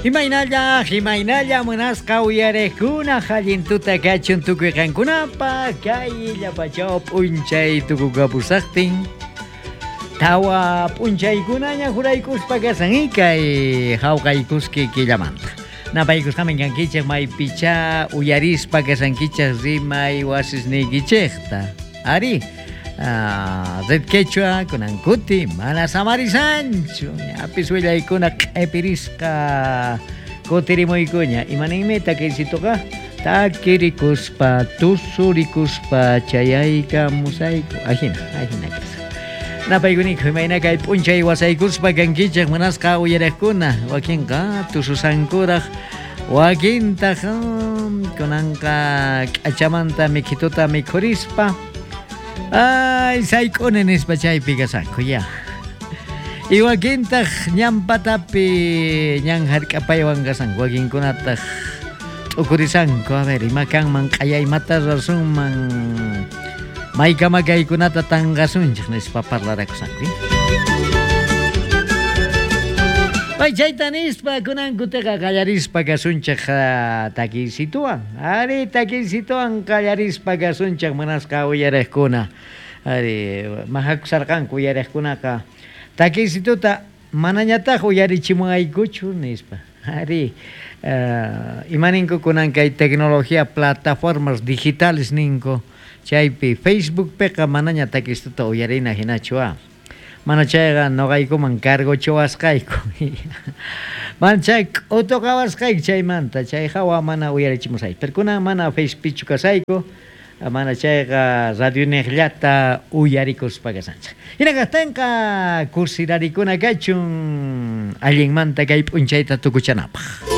Imaynalla, imaynalla munasqa uyariqkuna allin tuta kachun tukuy qankunapaq kay illapachaw p'unchay tukukapusaqtin tawa p'unchaykunaña juraykuspa kasan kay hawqaykuski killamanta. Napaykusqamin kankichej maypichá uyarispa kasankichej rimay wasisniykichejta. Ari, Red Quechua kunan kuti mana samarisanchu. Ñapis willaykuna q'epirisqa kutirimuykuña. Imaninmi takiysituqa? Takirikuspa, tusurikuspa chayaykamusayku. Ajina, ajina kashan. Napaykuniyku imayna kay p'unchay wasaykuspa kankichej munasqa uyarejkuna. Wakinqa tususankuraj, wakintaj kunanqa k'achamanta mikhituta mikhurispa ay sayk'uni nispa chaypi kasanku ya. Y wakintaj ñan patapi ñan jark'apaywan kasanku, wakinkunataj t'ukurisanku, a ver, ima kanman q'aya imata rasunman maykama kaykunata tanqasunchej nispa parlarakusanku. Pay chayta nispa kunan kuteqa qallarispa kasunchej takiysituwan. Ari takiysituwan qallarispa kasunchej munasqa uyarejkuna. Ari majakusarqanku uyarejkunaqa takiysituta manañataj uyarichimuwaykuchu nispa. Ari imaninku kunan kay tecnología plataformas digitales ninku chaypi Facebookpiqa manaña takistuta uyarina hinachu ah. Mana chayqa noqaykuman cargochawasqayku. Mana chay k'utuqawasqayku chaymanta chay hawa mana uyarichimusayku. Pero kunan mana Facebookpichu kasayku, mana chayqa radioniqllata uyarikuspa kasanchik. Hina kaqtinqa kusirarikuna kachun allinmanta kay p'unchayta tukuchanapaq.